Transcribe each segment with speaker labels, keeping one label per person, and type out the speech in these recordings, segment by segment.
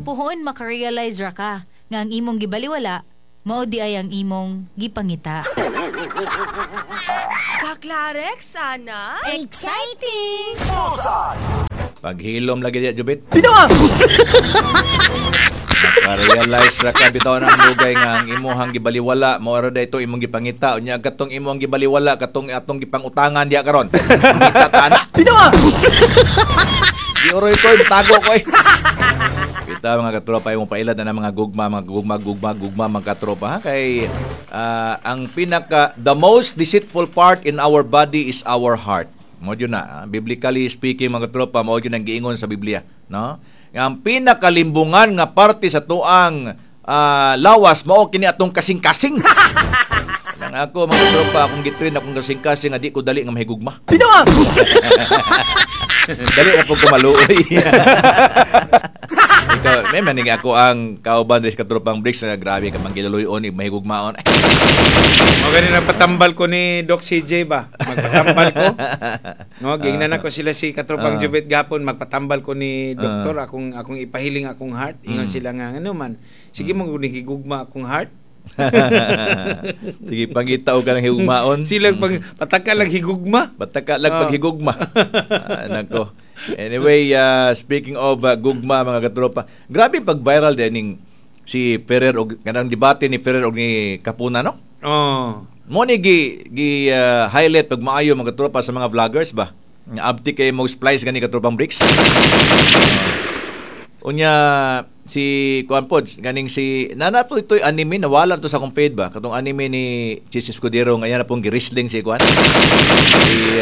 Speaker 1: Puhon makarealize ra ka nga ang imong gibaliwala mao di ay ang imong gipangita.
Speaker 2: Kaklarex sana.
Speaker 1: Exciting!
Speaker 3: Paghilom lagi diya, Jubit. Maka-realize ra ka bitaw na ang dugay nga ang imuhang gibaliwala mao ra ito imong gipangita, unya katong imong gibaliwala katong atong gipangutangan diya karon. Pangita ta na. Bitaw. Di oroy ko, tago ko eh. Kita mga katropa, yung pailad na ng mga gugma, mga gugma, gugma, gugma, mga katropa, ha? Kay ang pinaka, the most deceitful part in our body is our heart. Mao yun na, ha? Biblically speaking, mga katropa, mao yun ang giingon sa Biblia, no? Nga ang pinakalimbungan nga parte sa tuang lawas, mao kini atong kasing-kasing. Nang ako, mga katropa, akong gitrain akong kasing-kasing nga di ko dali nga mahigugma. Dali na po kumaluoy. Ikaw, may maning ako ang kauban rin sa katropang Bricks na grabe ka manggilaluyon, mahigugmaon.
Speaker 4: Mo gani na patambal ko ni Doc CJ ba? Magpatambal ko. No, gingnan ako sila si Katropang Jubit gapon, magpatambal ko ni doktor, akong akong ipahiling akong heart. Ingon sila nga ano man. Sige mo gugma akong heart.
Speaker 3: Sige, pangita og ka ng higugmaon.
Speaker 4: Sila pag pataka lang higugma.
Speaker 3: Bataka lang paghigugma. Nako. Anyway, speaking of gugma, mga katropa, grabe pag viral din ning si Ferrer og kanang debate ni Ferrer og ni Kapuna, no?
Speaker 4: Oh.
Speaker 3: Mo ni gi gi highlight pag maayo, mga katropa, sa mga vloggers ba? Nga abti kay mo splice gani, katropang Bricks. Unya si kuan pod ganing si nana po ito'y anime, nawala to sa akong feed ba, katong anime ni Chiz Escudero nga na pong gi-wrestling si kuan, si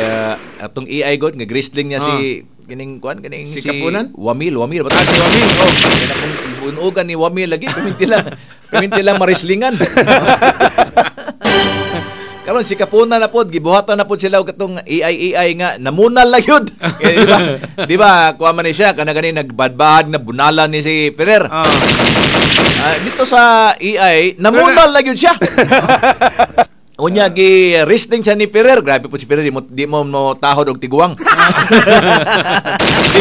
Speaker 3: atong AI god nga wrestling niya si kining kuan kaning
Speaker 4: Si Kapunan?
Speaker 3: Wamil, Wamil ba?
Speaker 4: Ah, si Wamil, oh.
Speaker 3: Kaya na pong bunugan ni Wamil lagi, paminti lang marislingan. Karon si Kapuna na pod, gibuhatan na pod sila og katong AI AI nga namunal la yun. Kaya, di ba? Di ba kuha man ni siya kana gani nagbadbad na bunalan ni si Ferrer. Ah, dito sa AI namunal la yun siya. Unya gi wrestling siya ni Ferrer. Grabe po si Ferrer, di mo mo tahod og tiguang.
Speaker 4: Di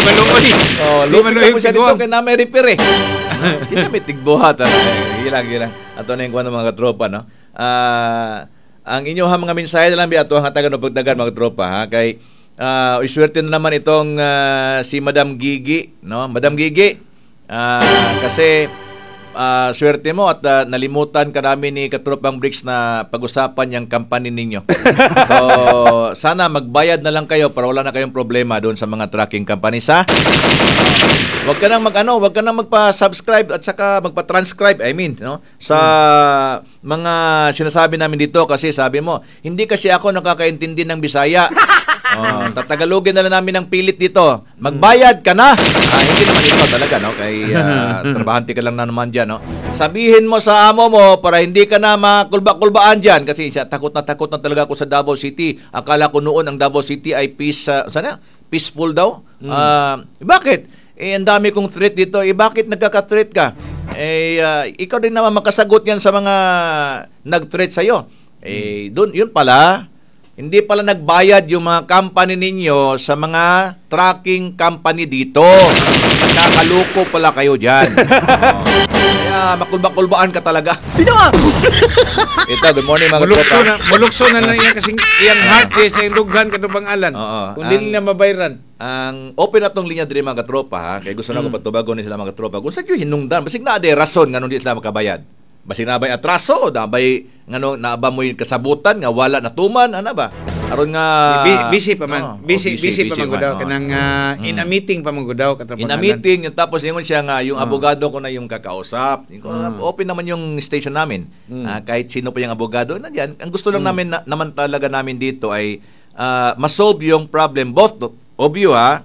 Speaker 4: maluoy.
Speaker 3: Oh,
Speaker 4: Di
Speaker 3: lupit
Speaker 4: maluoy
Speaker 3: na po siya dito
Speaker 4: tiguang.
Speaker 3: kay na may repair eh. Di siya may tigbuhat. Ah. Gilang, gilang. Ato na yung kuwan ng mga katropa, no? Ang inyong mga mensahe na lang bi ato ang hatagan o pagdagan, mga katropa, ha, kay iswerte na naman itong si Madam Gigi, no? Madam Gigi, kasi swerte mo at nalimutan ka namin ni Katropang Bricks na pag-usapan yung company ninyo. So, sana magbayad na lang kayo para wala na kayong problema doon sa mga tracking companies, ha? Wag ka nang mag-ano, wag ka nang magpa-subscribe at saka magpa-transcribe, I mean, no? Sa mga sinasabi namin dito kasi sabi mo, hindi kasi ako nakakaintindi ng Bisaya. Oh, tatagalogin na lang namin ng pilit dito. Magbayad ka na. Hindi naman ito talaga, no? Kay trabahante ka lang na naman diyan, no? Sabihin mo sa amo mo para hindi ka na makulba-kulbaan diyan kasi siya takot na talaga ako sa Davao City. Akala ko noon ang Davao City ay peace, sana peaceful daw. Bakit? Eh, ang dami kong threat dito. Eh, bakit nagkaka-threat ka? Eh, ikaw din naman makasagot yan sa mga nag-threat sa'yo. Eh, dun, yun pala, hindi pala nagbayad yung mga company ninyo sa mga tracking company dito. Nakakaloko pala kayo dyan. Oh. Kaya makulba-kulbaan ka talaga. Ito, good morning, mga
Speaker 4: Mulukso
Speaker 3: katropa.
Speaker 4: na, mulukso na lang iyang kasing iyang heart eh, sa iyang dughan katong alan.
Speaker 3: Oo.
Speaker 4: Kung dili na mabayran.
Speaker 3: Ang open na tong linya diri, mga katropa, ha, kay gusto na ko patubagon ni sila, mga katropa. Kung sa gyud hinungdan, basig na aday rason nganong di sila makabayad. Basig na bay atraso, na bay ngano na ba mo yung kasabutan nga wala natuman ana ba? Aron nga
Speaker 4: Busy pa man.
Speaker 3: Oo,
Speaker 4: Busy,
Speaker 3: oh,
Speaker 4: busy, pa man gud daw
Speaker 3: oo.
Speaker 4: kanang in a meeting pa man gud daw katong
Speaker 3: In a meeting, yung tapos ingon siya nga yung abogado ko na yung kakausap. Yung, open naman yung station namin. Kahit sino pa yung abogado, nandiyan. Ang gusto lang namin na, naman talaga namin dito ay masolve yung problem both of you, ha,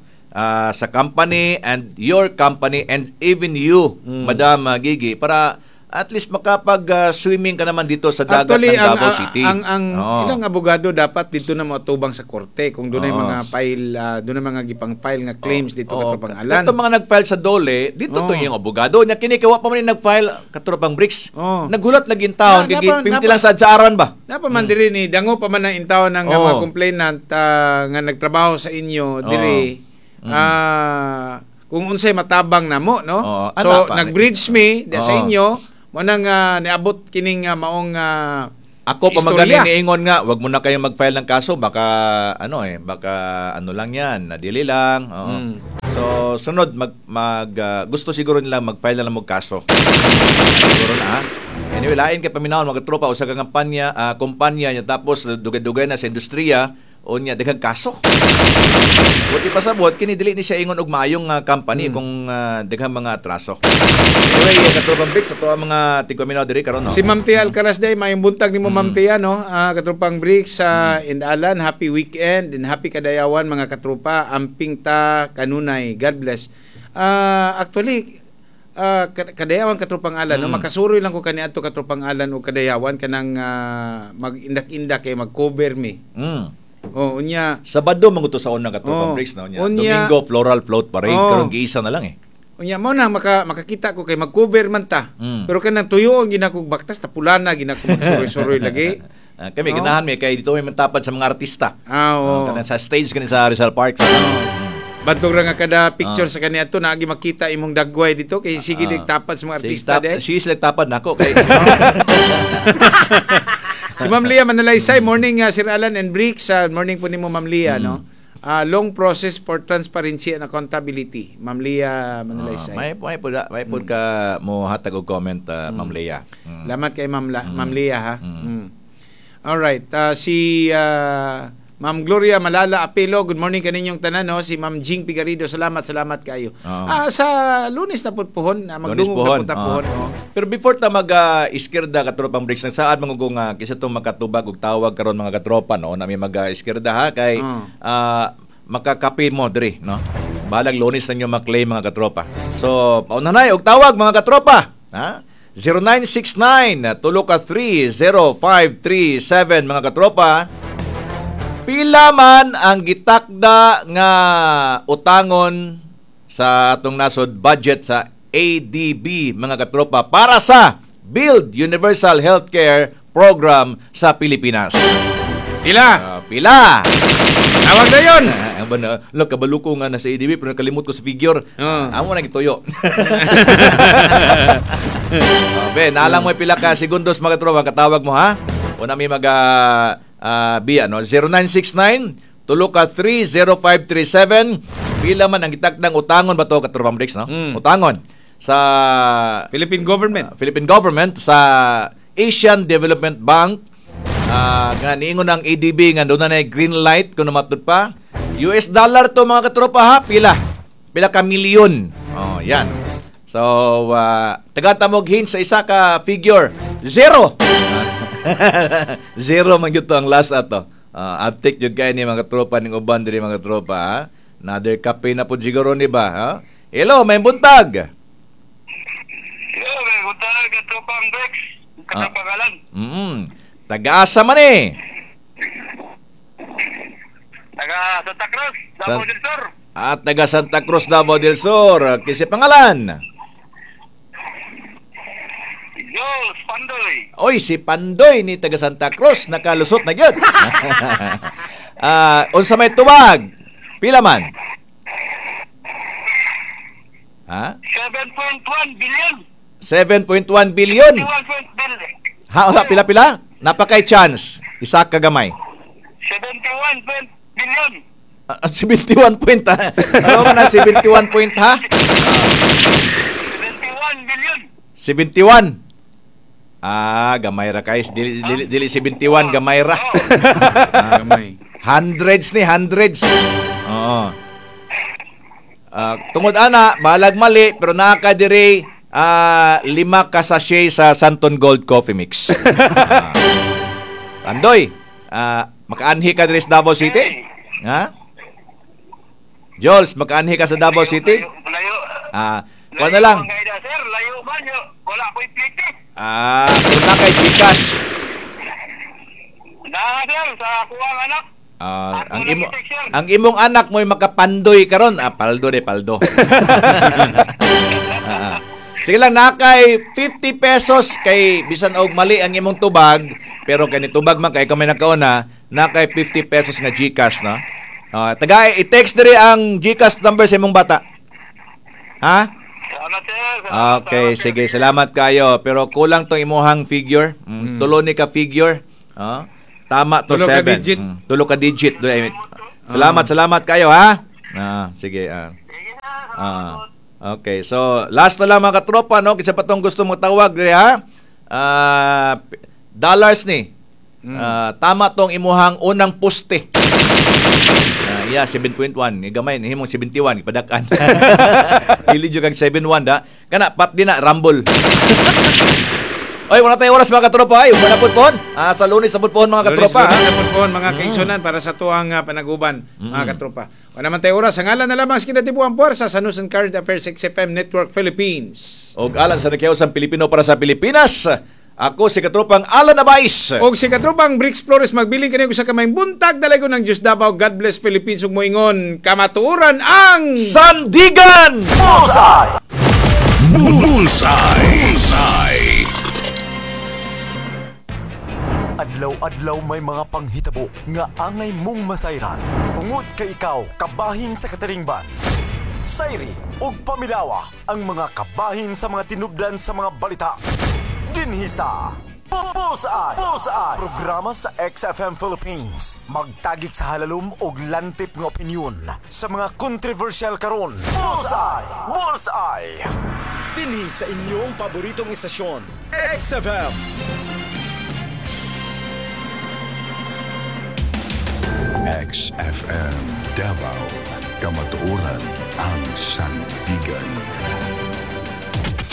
Speaker 3: sa company and your company and even you, Madam Gigi, para at least makapag swimming ka naman dito sa dagat
Speaker 4: Actually,
Speaker 3: ng
Speaker 4: ang,
Speaker 3: Davao City.
Speaker 4: ang
Speaker 3: Oo.
Speaker 4: ilang abogado dapat dito na moatubang sa korte kung dunay
Speaker 3: Oo.
Speaker 4: mga file, dunay mga gipang file nga claims dito
Speaker 3: Oo.
Speaker 4: katropang alan.
Speaker 3: Ito mga nag-file sa DOLE, dito to
Speaker 4: Oo.
Speaker 3: yung abogado. Nya kini kay wa pa man ni nag-file, katropang Bricks.
Speaker 4: Oo.
Speaker 3: Nagulat lagi yung taon
Speaker 4: Na-
Speaker 3: kay pimti lang sa aran ba.
Speaker 4: Napa man diri ni dango pa man ang intaw ng
Speaker 3: Oo.
Speaker 4: mga complainant nga nagtrabaho sa inyo diri. kung unsay matabang namo, no?
Speaker 3: Oo,
Speaker 4: So
Speaker 3: ana pa.
Speaker 4: nag-bridge me di sa
Speaker 3: Oo.
Speaker 4: inyo mo nang niabot kining maong
Speaker 3: Ako pa
Speaker 4: istorya.
Speaker 3: magaling niingon nga, wag mo na kayong mag-file ng kaso, baka ano eh, baka ano lang 'yan, nadili lang. Oo.
Speaker 4: Mm.
Speaker 3: So sunod mag, mag gusto siguro nila mag-file na lang og kaso. Siguro na. Ha? Anyway, lain kay paminawon mga tropa usa ka kampanya, kumpanya niya tapos dugay-dugay na sa industriya unya daghang kaso. Buti pa sa buhat kini dili ni siya ingon og maayong company kung daghang mga atraso. Anyway, katropang Bricks ato ang mga tigpaminaw diri karon no.
Speaker 4: Si Ma'am Tia Alcaraz day, maayong buntag nimo Ma'am Tia, no? Katropang Bricks sa Indalan, happy weekend and happy kadayawan mga katropa. Amping ta kanunay. God bless. Actually kadayawan katropang Alan, no? Makasuroy lang ko kaniadto katropang Alan og kadayawan kanang mag-indak-indak kay mag-cover mi. Oh, unya
Speaker 3: Sabado manguto sa unang katropang
Speaker 4: Oh.
Speaker 3: Bricks no nya.
Speaker 4: Unya-
Speaker 3: Domingo floral float parade
Speaker 4: Oh.
Speaker 3: karon giisa na lang eh.
Speaker 4: Unya mo na makakita ko kay mag-cover man ta. Pero kanang tuyo ang ginakog baktas tapulana ginako magsuroy-suroy lagi.
Speaker 3: Kami
Speaker 4: Oh.
Speaker 3: ganahan mi kay dito may mantapad sa mga artista.
Speaker 4: Ah, oo.
Speaker 3: Kanang sa stage kani sa Rizal Park.
Speaker 4: Bantog ra nga kada picture sa kaniya to naagi makita imong dagway dito kay sige nagtapad sa mga artista de.
Speaker 3: Sige sila tapad nako kay
Speaker 4: Si Ma'am Lia Manalaysay, morning Sir Alan and Bricks, morning po nimo Ma'am Lia, no. Long process for transparency and accountability. Ma'am Lia Manalaysay.
Speaker 3: May may pud ka mo hatag og comment Ma'am Lia.
Speaker 4: Salamat kay Ma'am Ma'am Lia ha. All right, si Ma'am Gloria Malala Apelo, good morning kaninyong tanan, no? Si Ma'am Jing Pigarido, salamat, salamat kayo.
Speaker 3: Oo.
Speaker 4: Sa Lunes na pud pohon, magdungog na pud ta pohon. Oh.
Speaker 3: Pero before ta mag iskirda katropang Bricks, nagsaad man ko nga kisa tong makatubag og tawag karon mga katropa no, nami mag iskirda ha kay makakape mo diri no. Balag Lunes na nyo maklaim mga katropa. So, pauna na og tawag mga katropa, ha? 0969 3 0537 mga katropa. Pila man ang gitakda nga utangon sa atong nasod budget sa ADB mga katropa para sa Build Universal Healthcare Program sa Pilipinas.
Speaker 4: Pila?
Speaker 3: Pila?
Speaker 4: Tawag na yun!
Speaker 3: Look, kabalo ko nga nasa ADB pero nakalimot ko sa figure. Amo na gituyo. Be, naalang mo pila ka segundos mga katropa, katawag mo ha? Una may mag biya, no? 0969 3 0537. Pila man ang gitakdang utangon ba to katropang Bricks, no? Utangon sa
Speaker 4: Philippine government.
Speaker 3: Philippine government sa Asian Development Bank. Nga niingon ang ADB nga doon na green light kung matud pa. US dollar to mga katropa ha, pila. Pila ka milyon. Oh, yan. So, taga-tamog hint sa isa ka figure, 0. 0 man gyud to ang last ato. Uptake jud kay ni mga tropa ning uban diri mga tropa ha. Another kape na pud siguro ni ba ha? Hello, may buntag.
Speaker 5: Hello, may buntag katropang Bex, katropang Alan.
Speaker 3: Taga-asa man eh.
Speaker 5: Taga Santa Cruz, Davao del Sur.
Speaker 3: At taga Santa Cruz, Davao del Sur. Kasi pangalan?
Speaker 5: Jules Pandoy.
Speaker 3: Oy, si Pandoy ni taga Santa Cruz nakalusot na gyud. Unsa may tubag? Pila man? Ha?
Speaker 5: 7.1 billion.
Speaker 3: 7.1 billion.
Speaker 5: 71 billion.
Speaker 3: Ha, wala pila-pila? Napakay chance. Isa ka gamay.
Speaker 5: 71 billion.
Speaker 3: 71 point ha. Ano man na 71 point ha?
Speaker 5: 71 billion.
Speaker 3: 71. Gamay ra guys. Dili 71 gamay ra.
Speaker 4: Gamay.
Speaker 3: Hundreds ni hundreds. Oo. Tungod ana, balag mali pero naa ka diri 5 ka sachet sa Santon Gold Coffee Mix. Pandoy, makaanhi ka diri sa Davao City? Ha? Jols, makaanhi ka sa Davao City?
Speaker 5: Layo.
Speaker 3: Kuha na lang.
Speaker 5: Sir, layo man yo. Wala ko'y plate.
Speaker 3: Pero na kay Gcash.
Speaker 5: Na, sir, sa kuwang anak.
Speaker 3: Ang imong anak mo'y makapandoy karon. Paldo de paldo. Sige lang, nakay 50 pesos kay bisan og mali ang imong tubag, pero kay ni tubag man kay kamay nakauna, nakay 50 pesos nga GCash, no? Taga i-text diri ang GCash number sa imong bata. Ha?
Speaker 5: Salamat, sir. Salamat,
Speaker 3: Okay,
Speaker 5: salamat, sir.
Speaker 3: sige. Salamat kayo. Pero kulang tong imuhang figure. Tulo ni ka figure. Ah, tama to
Speaker 4: Tulo ka
Speaker 3: 7.
Speaker 4: digit.
Speaker 3: Tulo ka digit. Salamat, salamat kayo ha. Sige.
Speaker 5: Sige, sir. Salamat po.
Speaker 3: Okay. So, last na lang mga katropa, no? Kinsa pa tong gusto mo tawag diri ha? Dollars ni. Tama tong imuhang unang poste. Yeah, 7.1. Gamay himong 71 ipadak-an. Dili jud kag 7.1 da. Kana pat di na rumble. Oy, wala tayo oras mga katropa. Ay, wala pud pohon. Sa Lunes na pud pohon mga katropa.
Speaker 4: Lunes, lunes na pud pohon, mga kaigsunan para sa tuang panaguban, mga katropa. Wala man tayo oras. Ang ngalan na lamang sa kinatibuang puwersa sa News and Current Affairs XFM Network Philippines.
Speaker 3: Og alang sa nakiyaw Pilipino para sa Pilipinas. Ako si katropang Alan Abais.
Speaker 4: Og si katropang Bricks Flores magbilin kaniyo sa kamayng buntag dalaygon ng Diyos Davao. God bless Philippines ug moingon kamatuoran ang
Speaker 3: Sandigan.
Speaker 6: Bullseye!
Speaker 7: Bullseye. Bullseye.
Speaker 6: Adlaw-adlaw may mga panghitabo nga angay mong masayran. Tungod kay ikaw kabahin sa kataringban. Sayri ug pamilawa ang mga kabahin sa mga tinubdan sa mga balita. Dinhi sa Bullseye! Bullseye! Programa sa XFM Philippines. Magtagik sa halalom og lantip nga opinyon sa mga kontrobersyal karon. Bullseye! Bullseye! Dinhi sa inyong paboritong istasyon, XFM.
Speaker 7: XFM Davao. Kamatuoran ang sandigan.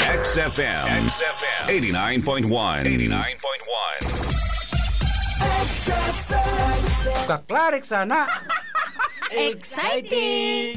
Speaker 7: XFM 89.1 89.1.
Speaker 8: Kaklarik sana.
Speaker 1: Exciting!